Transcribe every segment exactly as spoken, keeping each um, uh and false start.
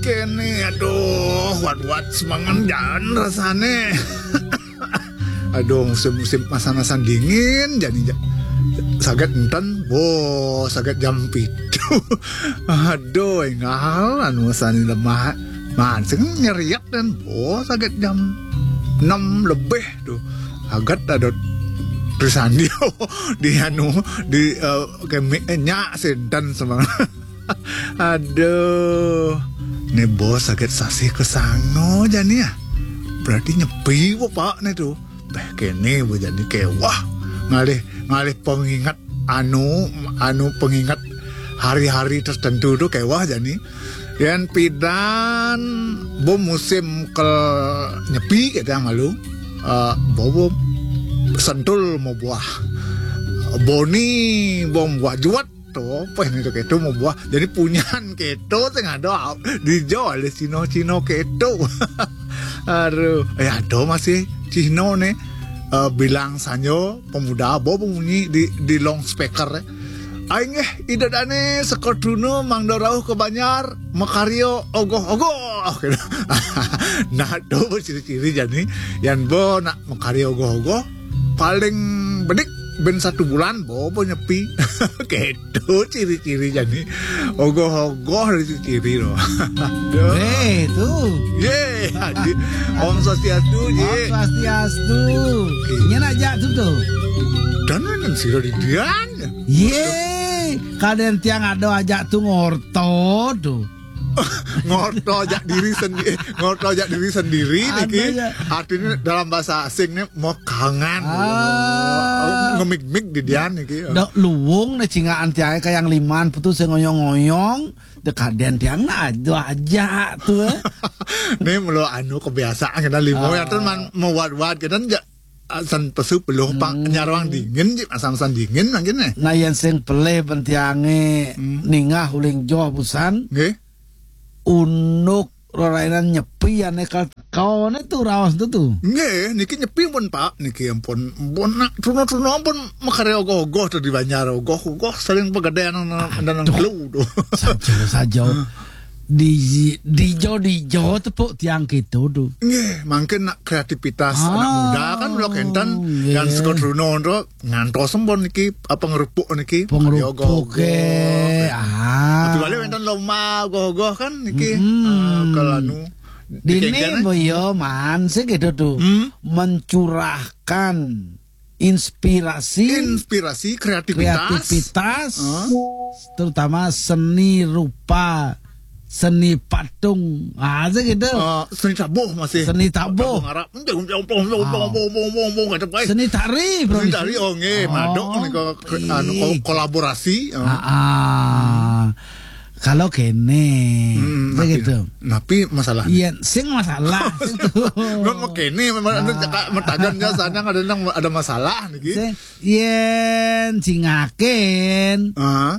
Kéné, aduh, wat-wat semengan jan rasané. Aduh, musim-musim masan-masan dingin, jani ja-, saget énten, bo, saget jam pitu. Aduh, énggal, anu, sané lemah. Man, sing nyeriak dan, bo, saget jam enam lebih tuh. Saget ada di sandio, di anu, di, eh, kemi-, eh, nyak sénten semengan. Aduh, né bo saget sasih kasanga jani ya. Berarti nyepi bo, Pak, né tuh. Béh, kéné bo jani kéweh. Ngalih, ngalih pengingat anu, anu pengingat hari-hari tertentu tuh kéweh jani. Yén pidan bo musim kel nyepi kita malu. Eh, bo, bo sentul mau buah. Boni bo buah juat. Tuh, apa ini tuh kéto mau buah. Jadi punyan kéto sing ada di Jawa, ada Cino-Cino kéto. Aduh, ya ada masih Cino né. Eh, bilang sanyo pemuda, bo bunyi di, di loudspeaker. Aing, eh, ida dané saka truna mangda rauh ka banjar, makarya ogoh-ogoh. Nah, tuh ciri-ciri jani, yén bo nak makarya ogoh-ogoh, paling bedik ben satu bulan bo, bo nyepi. Kéto ciri-ciri jani. Ogoh-ogoh dari ciri loh. Eh, tuh. Yé, Adi. Om Swastiastu, Om Yé. Swastiastu. Nya nak ajak tuh tuh. Dan kan sira di dian. Yé, kadén tiang ada ajak tuh ngorto tuh. Ngorto ajak diri sendiri, ngorto ajak diri sendiri niki. Artinya dalam bahasa asing nih mau kangen. Ah. Ngemig-mig di dian niki. Dok luwung né cingaan tiangé kayang liman putus sing ngoyong-ngoyong, dek kadén tiang nah aduh aja tuh. Né melo anu kebiasaan kita limo ya, terus man mewat-wat kita ja-, san pesu peluh pang nyarwang dingin, ji, asam-asam dingin mungkin né. Nah, yén sing pelih ben tiangé ningah uling joh busan. Nggih. Unduk rerainan nyepi ané kal-, kaoné tuh raos tuh tuh. Nggih, niki nyepi pun, Pak, niki ampun. Ampun nak truna-truna ampun makarya ogoh-ogoh tuh di banjar, ogoh-ogoh saling pegedéan nang, nang, nang telu tuh. Saja, saja. Di, dijo, dijo tepuk tiang gitu tuh. Nggih, mungkin nak kreativitas anak muda kan lo kénten nggih. Yang saka truna tuh ngantos ampun niki apa ngerupuk niki. Pengerupuk ogoh-ogoh. Ah. Tapi balik wénten lomba ogoh-ogoh kan niki. Ah, kalau anu dini boyo man sih gitu tuh. Mencurahkan inspirasi, inspirasi, kreativitas. Kreativitas, terutama seni rupa, seni patung. Ah, sih gitu. Eh, seni tabuh masih. Seni tabuh. Tabuh ngarap. Seni tari, seni tari, oh nggih, madok nih kok, anu, kolaborasi. Ah, ah. Kalau kéné, begitu. Tapi masalah. Iya, sing masalah. Nggak mau kéné, memang anu cakap metagan jasanya ada nang ada masalah niki. Sing, yén cingakin. Ah.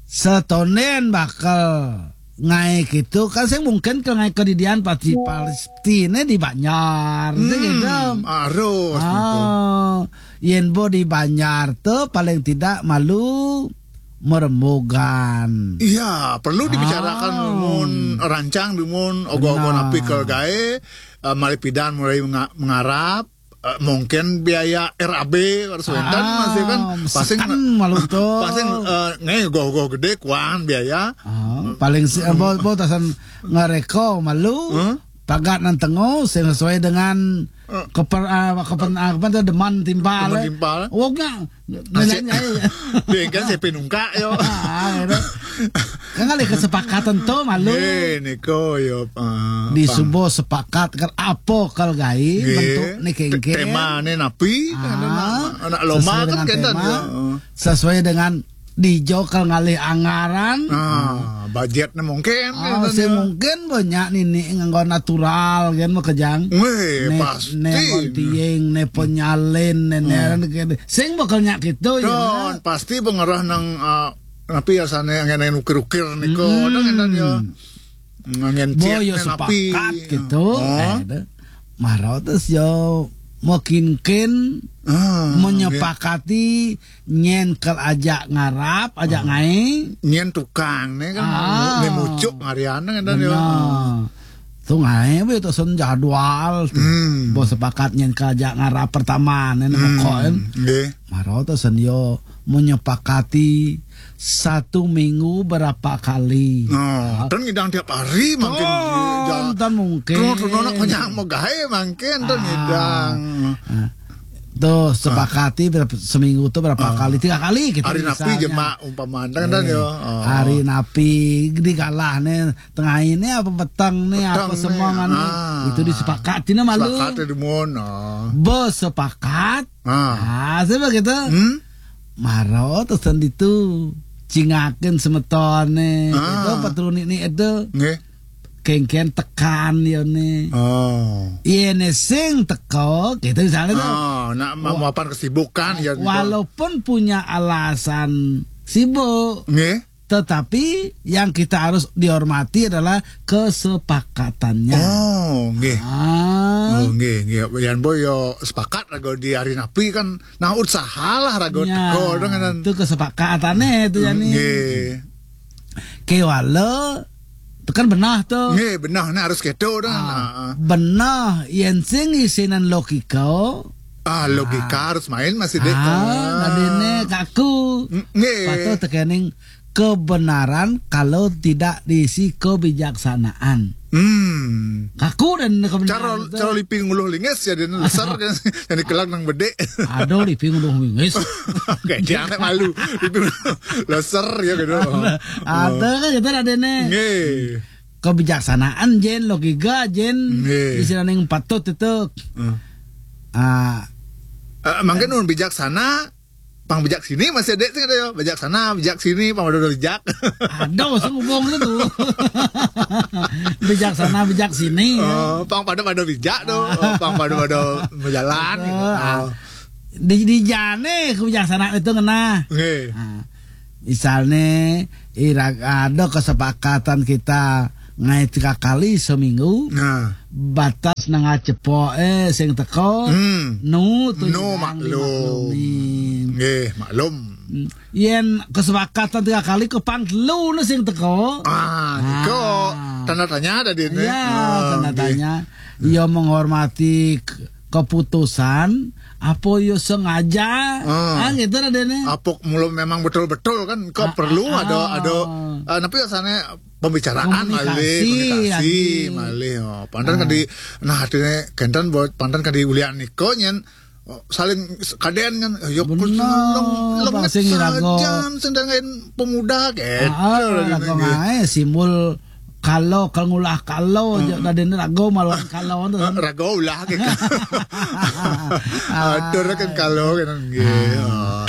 Setonen bakal ngaé gitu kan sing mungkin ke ngaé kedidian pasti pasti né di Banjar gitu. Harus gitu. Ah, yén bo di Banjar tuh paling tidak malu merembugan. Iya, perlu dibicarakan mun rancang mun ogoh-ogoh napi ke gaé, eh, malih pidan mulai menga-, mengarap, eh, mungkin biaya R A B harus wénten masih kan pasti malu tuh. Pasti, eh, nggih goh-goh gedé kuan biaya. Ah, paling si, eh, bo, bo tasan ngareko malu. Pagat nan tengo sing sesuai dengan keper, ah, kepen, ah, apa tuh, deman timpal. Deman timpal. Wong nggak Nanya, dia kan saya pinungka yo. Ah, gitu. Kan ada kesepakatan tuh malu. Eh, niko yo, eh, di subuh sepakat kan apa kal gaé bentuk né kéngkén. Tema né napi, anak lomba kan kénten yo. Sesuai dengan dijo kal ngalih anggaran. Ah, budgetnya mungkin. Ah, sing mungkin banyak nini nganggo natural kan makejang. Wéh, pasti. Né gontiing, né penyalin, né, né, sing bakal nyak gitu ya. Pasti pengerah nang, eh, napi ya sana yang ukir-ukir niko, nang enak ya. Ngangen bo yo sepakat gitu. Eh, maro terus yo mekinkin, ah, menyepakati nyen kel ajak ngarap, ajak, ah, ngae. Nyen tukang ne kan, ah, ne mucuk ngarian ne kan yo. Benar. Tu ngae be tu sen jadwal tu. Hmm. Bo sepakat nyen kel ajak ngarap pertama ne, ne, hmm, pokok en. Nggih. Maro tu sen yo menyepakati satu minggu berapa kali. Oh, ah, ten ngidang tiap hari mangkin. Oh, jang, ten mungkin. Terus, terus nak kenyang mau gae mangkin ten, ah, ngidang. Ah. Tuh, ah, sepakati berapa, seminggu tuh berapa, ah, kali? Tiga kali kita. Hari napi misalnya. Jemak umpama ten, ten, eh, yo. Oh. Hari napi digalah ne, tengah ini apa petang ne, petang apa ne, semangan ne. Ah. Itu disepakati ne malu. Sepakati dumun, oh. Besepakat. Ah. Ah, sebab gitu. Hmm? Maro tu sen ditu. Cingakin semeton ne. Ah. Itu petruni ni itu. Nggih. Kengken tekan yo ne. Oh. Ye ne sing teko, gitu misalnya tu. Oh, nak, wa-, mapan kesibukan ya gitu. Walaupun punya alasan sibuk. Nggih. Tetapi yang kita harus dihormati adalah kesepakatannya. Oh, nggih. Ah. Oh, nggih, nggih. Yan boy yo sepakat rago di hari napi kan. Nah, usahalah rago, ya, teko dengan itu kesepakatan ne tu, hmm, yani. Nggih. Kewala tu kan benah tu. Nggih, benah ne harus keto dah. Ah, nah, ah, benah yen sing isinan logika. Ah, logika, ah, harus main masih dek. Ah, ah, nadine kaku. Ng-, nggih. Patut tekening kebenaran kalau tidak diisi kebijaksanaan. Hmm. Kaku dan kebenaran. Cara, itu cara lipi nguluh lingis ya, dia leser kan. Yang dikelang nang bedek. Ada lipi nguluh lingis. Oke, jangan malu. Lipi nguluh leser ya gitu. Ada, ada kan gitu ada ne. Nggih. Kebijaksanaan jen, logika jen, nggih, istilahnya yang patut itu. Hmm. Ah. Eh, mungkin mun bijaksana, pang bijak sini masih ada sih ada ya. Bijaksana, bijak sini, pang ada bijak. Ada, usah ngomong itu. Bijaksana, bijak sini, ya. Oh, pang pada pada bijak tu. Oh, pang pada pada berjalan gitu. Ah. Oh. Di, di jane kebijaksanaan itu ngena. Nggih. Ah. Misalnya, ira-, ada kesepakatan kita ngae tiga kali seminggu. Nah. Batas nengah cepoke sing teko. Hmm. Nu tu nu, maklum. Dimaklumin. Nggih, maklum. Hmm. Yen kesepakatan tiga kali ke pang telu ne sing teko. Ah, niko, ah, tanda tanya tadi ne. Ya, ah, tanda, nggih, tanya. Hmm. Ia menghormati ke-, keputusan apa yo sengaja. Ah. Ah, gitu lah dene. Apa mula memang betul-betul kan, kok, ah, perlu, ah, ada, ah, ada, ah, tapi rasanya pembicaraan malih, komunikasi, komunikasi, adi, malih. Oh, pantan, ah, kadi, nah, artinya kenten buat pantan kadi ulian niko nyen, oh, saling s-, kaden kan, yo, bener, lem-, lem-, pasti ngirago. Sajan sing dengan pemuda gitu. Ah, ah, lah, lagu dene, gitu. Ngae simbol kalo, kal ngulah kalo, hmm, aja tadi ini rago malah kalo tu kan. Rago ulah ke. Atur kan kalo kan nggih. Ah.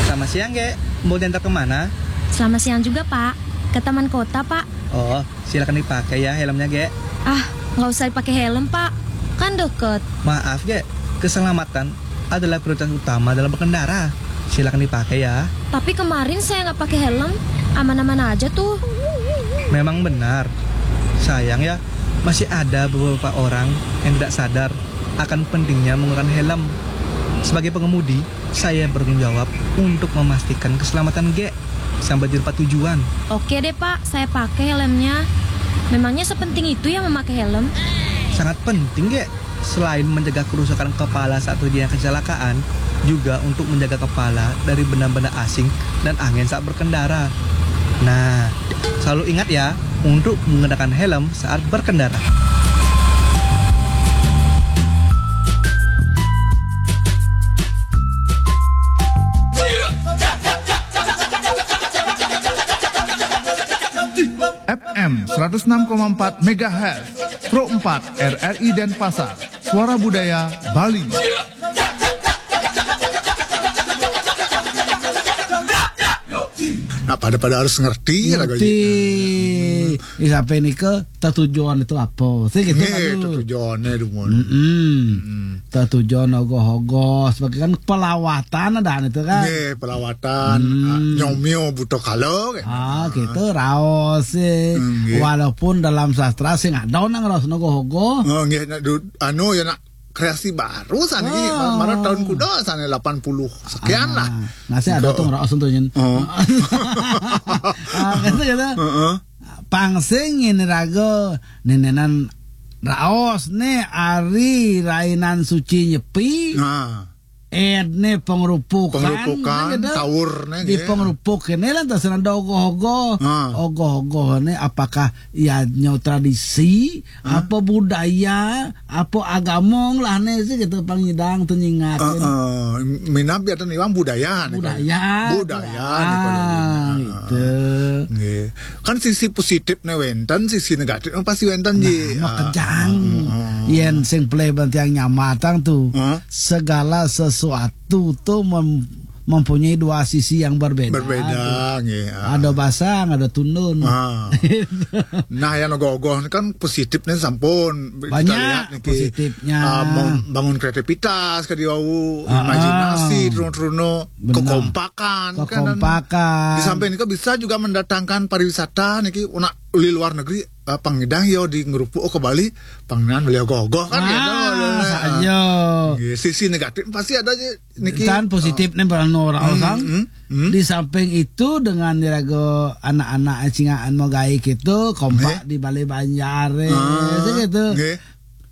Selamat siang, Gek. Mau diantar kemana? Selamat siang juga, Pak. Ke taman kota, Pak. Oh, silakan dipakai ya helmnya, Gek. Ah, nggak usah dipakai helm, Pak. Kan deket. Maaf, Gek. Keselamatan adalah prioritas utama dalam berkendara. Silakan dipakai ya. Tapi kemarin saya nggak pakai helm, aman-aman aja tuh. Memang benar. Sayang ya, masih ada beberapa orang yang tidak sadar akan pentingnya menggunakan helm. Sebagai pengemudi, saya bertanggung jawab untuk memastikan keselamatan Gek sampai di tempat tujuan. Oke deh, Pak, saya pakai helmnya. Memangnya sepenting itu ya memakai helm? Sangat penting, Gek. Selain mencegah kerusakan kepala saat terjadi kecelakaan, juga untuk menjaga kepala dari benda-benda asing dan angin saat berkendara. Nah, selalu ingat ya, untuk menggunakan helm saat berkendara. F M seratus enam koma empat megahertz, Pro empat R R I Denpasar, Suara Budaya Bali. Nah, pada-pada harus ngerti lah. Ngerti. Di sampai nika, tetujuan itu apa? Sih gitu. Nggih, kan, tuh. Tetujuannya dumun. Mm-mm. Mm-mm. Tetujuan ogoh-ogoh sebagai kan pelawatan ada itu kan. Nggih, pelawatan. Hmm. Ah, nyomio buto kalo kan. Ah, gitu, raos sih. Hmm, nggih. Walaupun dalam sastra sih nggak ada nang raos ogoh-ogoh. Oh, nggih, nak du-, anu ya nak kreasi baru sana ini, ah, malah tahun kuda sana delapan puluh sekian lah. Ah, masih ada tuh raos untuk nyen. Oh. Ah, gitu, gitu. Heeh. Pang sing ini raga nenenan raos ne ari rainan suci nyepi. Nah. Ed ne pengrupukan, pengrupukan, gitu. Taur ne, di gitu. Pengrupuk ini lah terserah ada ogoh-ogoh. Nah. Ogoh-ogoh ne apakah ya nyo tradisi, ah, apa budaya, apa agama lah ne sih gitu pangidang tu nyingakin. Heeh. Minab ya tu iwang budaya ne. Budaya. Budaya ne kalau ini. Ah, gitu. Nggih. Kan sisi positif ne wenten, sisi negatif ne pasti wenten ji. Nah, ah, kejang. Ah, ah, ah. Yen sing play bantiang nyamatang tu. Hah? Segala sesuatu tu mem-, mempunyai dua sisi yang berbeda. Berbeda, tu. Nggih, ah. Ada basang, ada tundun. Ah. Nah, yang ogoh-ogoh ni kan positifnya sampun. Kita banyak lihat niki, positifnya. Ah, mem-, bangun kreativitas, kadi wau, ah, imajinasi, ah, truno-truno, benar. Kekompakan, kan, dan kekompakan. Di samping itu bisa juga mendatangkan pariwisata niki, nak di luar negeri, ah, pangidang yo di ngerupuk ke Bali, panginan beli ogoh-ogoh kan, ah, gitu. Saja. Nggih, sisi negatif pasti ada aja niki. Dan positif nih barang orang, hmm, orang. Hmm, hmm. Di samping itu dengan diraga anak-anak cingaan mau gawe gitu, kompak, nggih, di balai banjar, eh, ah, gitu. Nggih.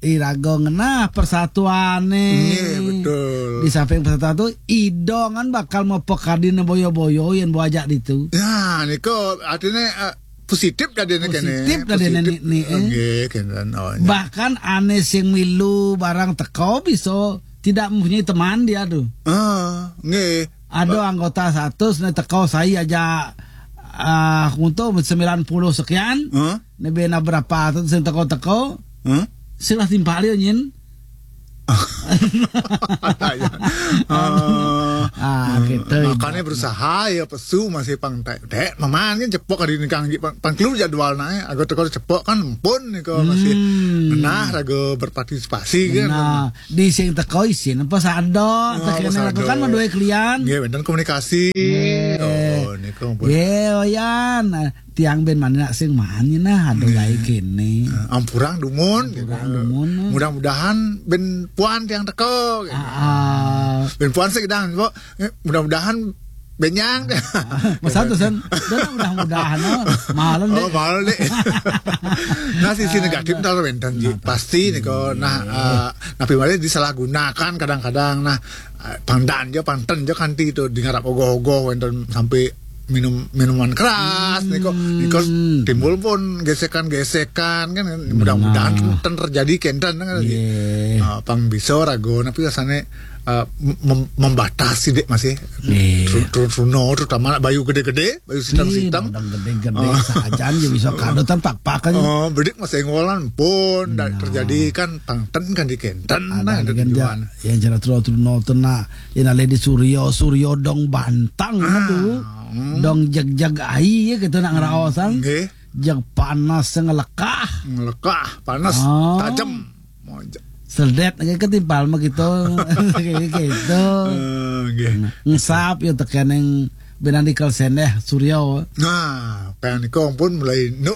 Iraga ngenah persatuan nih. Nggih, betul. Di samping persatuan tu, idongan bakal mau pekadin boyo-boyo yang buajak ditu. Ya, niko artinya, eh, positif tadi ni kene. Positif tadi ni, positif ni, eh. Nggih, kene. Oh, ya. Bahkan ane sing milu barang teko bisa tidak mempunyai teman dia tu. Ah, nggih. Ada anggota satu ne teko saya aja, ah, untuk sembilan puluh sekian. Hah? Ne bena berapa tu sing teko-teko. Hah? Silah timpal yo nyin. Ah, gitu. Makanya berusaha ya pesu masih pang tek tek maman kan cepok hari ini kang pang, pang keluar jadwal naik. Aku teko cepok kan pun niko masih, hmm, ngenah raga berpartisipasi kan. Nah, di sing teko isin apa sado, oh, tekene sado. Kan menduwe klian. Nggih, wenten komunikasi. Nggih. Oh, niku ampun. Nggih, Oyan. Nah, tiang ben mana nak sing mani nah, aduh, nggih, gawe kene. Eh, ampurang dumun, ampurang gitu. Dumun. Mudah-mudahan ben puan tiang teko, gitu. Ah, ah. Ben puan sih kidang, kok. Eh, mudah-mudahan benyang. Masa tu sen, dah mudah-mudahan, oh. Malam deh. Oh, malam deh. Nah, sisi negatif ntar wenten ji. Nah, pasti niko. Nah, eh, napi malih disalahgunakan kadang-kadang. Nah, eh, pangdan jo, pangten jo kanti tu di ngarap ogoh-ogoh wenten sampai minum minuman keras niko. Hmm. Niko timbul pun gesekan-gesekan kan. Mudah-mudahan ten terjadi kenten kan. Nggih. Ah, pang bisa raga napi rasane, eh, mem-, membatasi dek masih. Nggih. Tru-, tru-, truno terutama nak bayu gede-gede, bayu sitam-sitam. Ih, modang gede-gede sajan ya bisa kado tanpa pakan. Oh, bedik masih ngolan pun ndak terjadi kan pangten kan di kenten. Ada nah, di kan tujuan. Ya, yang jelas truno-truno tu nah. Ina lady Suryo, Suryo dong bantang tu. Hmm. Dong jeg-jeg ai ya gitu nak ngeraosan. Nggih. Jeg panas ngelekah. Ngelekah, panas, tajem. Sedet, kayak ketimpal mah gitu. Kayak gitu. Eh, nggih. Ngesap ya tekeneng benang di kalsendeh, Suryo. Nah, pengen niko pun mulai nuk.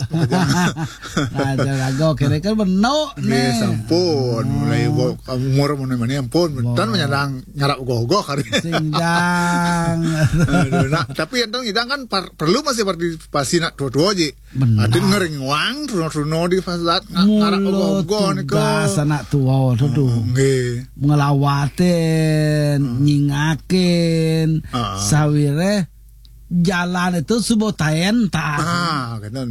Nah, jago kira kan benuk nih. Nggih, sampun. Mulai wo-, umur mana-mana ampun. Tan menyadang ngarap gogoh hari. Sindang. Aduh, nah, tapi yang ngidang kan par-, perlu masih partisipasi nak tua-tua ji. Benar. Ada ngeringuang, runo-runo di fasad, nga-, ngarap ogoh-ogoh ni ke. Tugas anak tua tu tu. Oh, nggih. Ngelawatin, nyingakin, sawire jalan itu subotaen ta. Ah, kena.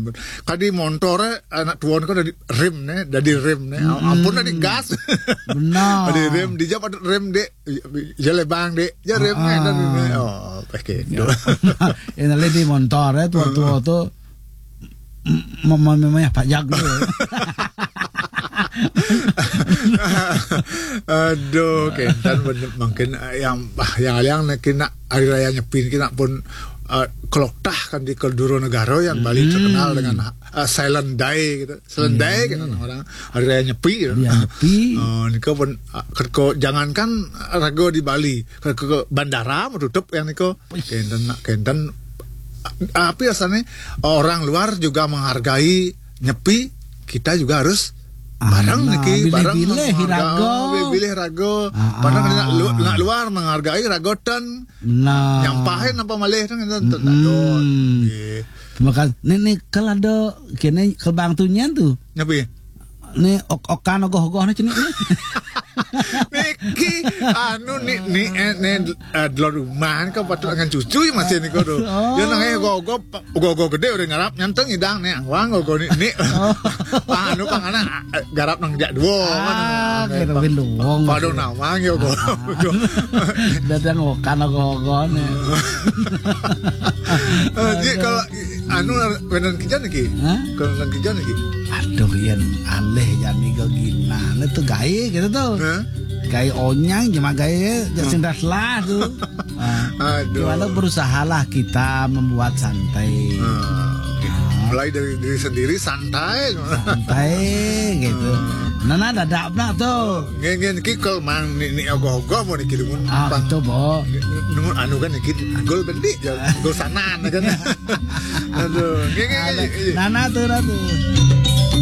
Kadi montore anak tua ni kan dari rem ne, dari rem ne. Ampun dari gas. Benar. Dari rem, di jam ada rem dek, ya lebang dek, ya rem ne, dari ne. Oh, pakai. Ya. Ini lagi di montore, tua-tua tu. Mama memangnya Pak Jago. Aduh, kenten bener, mungkin, eh, yang, bah, yang aliang nak kena hari raya Nyepi kena pun, eh, kelokah kan di Keduro Negara yang Bali terkenal dengan, eh, silent day gitu. Silent day kan orang hari raya Nyepi gitu. Hari raya Nyepi. Eh, nika pun, eh, kerko jangankan raga di Bali, ke, ke, ke bandara mau tutup yang nika. Kenten nak kenten, eh, apa rasanya orang luar juga menghargai Nyepi, kita juga harus bareng Nah, niki, bareng bilih-bilih menghargai, raga. bilih-bilih raga. Ah, Padahal ah. nak lu- nak luar menghargai raga ten. Nah. Nyampahin apa malih ten ten ten Hmm. Nggih. Terima kasih. Ni ni kalau ada kini kalau bang tu nyen tu. Nyepi. Ni ok okan ogoh-ogoh ni cenik ni. Niki anu ni ni eh, ni eh, dulu rumah ni kau patut dengan cucu ya masih ni kau tu. Oh. Ya nang eh ogoh-ogoh ogoh-ogoh gede udah ngarap nyanteng idang ni awang ogoh ni ni. Anu pang anak eh, garap nang jak dua. Ah, kira win luwung. Pada nawang ya ogoh. Dadang okan ogoh-ogoh ni. Eh, Ji kalau anu beneran kerja lagi. Hah? Beneran kerja lagi. Aduh, yang alih yang ni gina. Ni tu gaya gitu tu. Hah? Gaya onyang cuma gaya je sindas lah tu. Ah. Aduh. Cuma tu berusahalah kita membuat santai. Ah, oke. Mulai dari diri sendiri santai. Santai gitu. Nah, nah, dadak pula tu. Ngen ngen ki kalau mang ni ni ogoh-ogoh mau dikirim Ah, pang. Itu, Bo. Nungun anu kan niki gol bendi ya gol sanan kan. Aduh, ngen ngen ngen. Nana tu, Ratu.